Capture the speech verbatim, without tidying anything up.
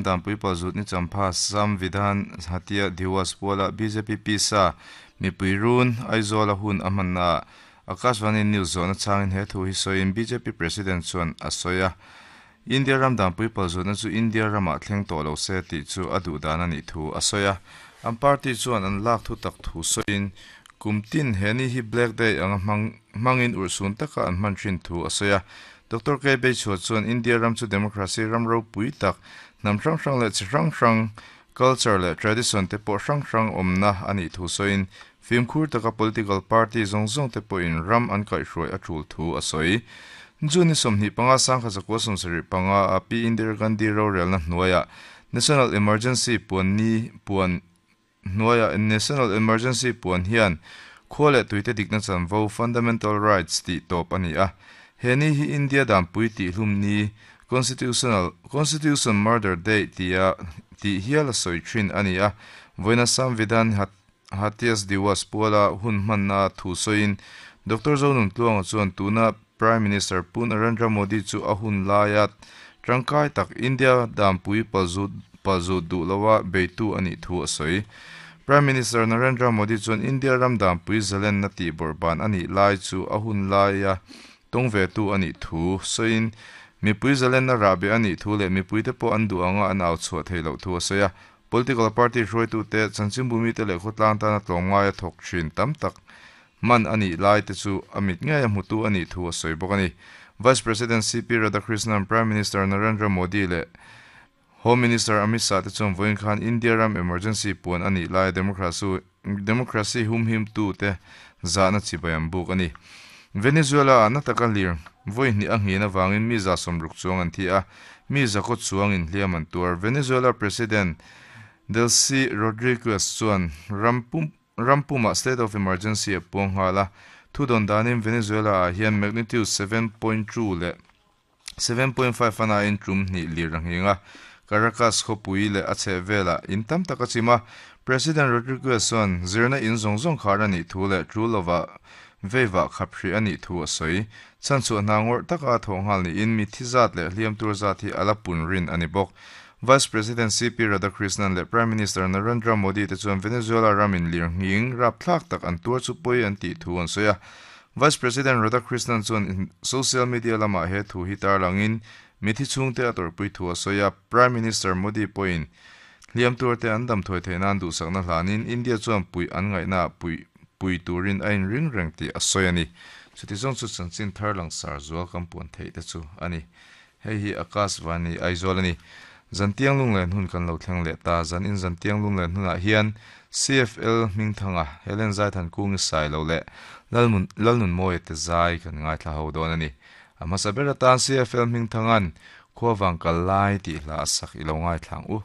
dan pui palzut ni champha Samvidhan Hatya Diwas puala B J P pisa mipui run Aizawl a hun a hmanna Akashvani News zawhna changin he thu hi sawiin B J P President chuan a sawi a. India ram dan pui palzutna chu India ramah thleng tawh lo se tih chu a duh dan a nih thu a sawi a. An party chuan an lak thu tak thu sawiin kumtin he ni hi Black Day anga hmang hmangin urhsun taka an hman thin thu a sawi a. Doctor K Beichhua chuan India ram chu democracy ram ropui tak hnam hrang hrang leh chi hrang hrang culture leh tradition te pawh hrang hrang awmna a nih thu sawiin fimkhur taka political party zawng zawng te pawhin ram an kaihhruai a tul thu a sawi. June sawmhnih panga sangkhat zakua sawmsarih panga a Pi Indira Gandhi rorelna hnuaiah National Emergency puan ni puan hnuaiah National Emergency puan hian khua leh tuite dikna chanvo, fundamental rights, tih tawp a ni a. He ni hi India danpui tih hlum ni, constitutional constitution murder day tia tih hial a sawi thin a ni a. Vawiina Samvidhan Hatya Diwas puala hun hmanna thu sawiin Doctor Zonuntluanga chuan tuna Prime Minister Pu Narendra Modi chu a hun laia tangkai tak India danpui palzut palzut duh lowa beitu a nih thu a sawi. Prime Minister Narendra Modi chuan India ram danpui zalenna tih bawrhban a nih lai chu a hun laia tawng ve tu a nih thu sawiin mipui zalenna rahbeh a nih thu leh mipuite pawh an duh anga an au chhuah thei loh thu a sawi a. Political party hruaitute, chanchinbumi te leh khawtlang tana tlawmngai a thawk thin tam tak man a nih lai te chu a mit ngei a hmutu a nih thu a sawi bawk a ni. Vice President C P Radhakrishnan, Prime Minister Narendra Modi leh Home Minister Amit Shah te chuan vawiin khan India ram emergency puan a nih lai democracy democracy humhim tu te zahna chibai an buk a ni. Venezuela na taka lir vawi hnih a nghin awangin mi za sawmruk chuang an thi a, mi zakhaw chuangin hliam an tuar. Venezuela President Delcy Rodriguez chuan rampum rampuma state of emergency a puang nghal a. Thu dawn danin Venezuela ah hian magnitude seven point two leh seven point five ana in tum hnih lir a nghing a. Caracas khawpui leh a chheh velah in tam tak a chim a. President Rodriguez chuan zirna in zawng zawng khar a nih thu leh tul lova veiva khap hri a nih thu a sawi. Chan chu hna ngawrh taka thawh nghal niin mi thi zat leh hliam tur zat hi ala pun rin a ni bawk. Vice President C P Radhakrishnan leh Prime Minister Narendra Modi te chuan Venezuela ramin lir nghing rapthlak tak an tuar chu pawi an tih thu an sawi a. Vice President Radhakrishnan chuan social media lamah he thu hi tarlangin mi thi chhungte a tawrhpui thu a sawi a. Prime Minister Modi pawhin hliam tur te an dam thawi theih nan duhsakna hlanin India chuan pui an ngaihna pui pui turin a inring reng tih a sawi a ni. Chuti zawng chu chanchin thar langsar zual kan puan theih te chu a ni. Hei hi Akashvani Aizawl a ni. Zantiang lunglen hun kan lo thleng leh ta. Zan in zantiang lunglen hunah hian C F L Hmingthanga, Helen Zaithan Kungi Sailo leh Lalmun Lalnun Mawi te zai kan ngaithla ho dawn a ni. A hmasa ber atan C F L Hmingthangan Khuawang kal lai tih hla a sak i lo ngaithlang u.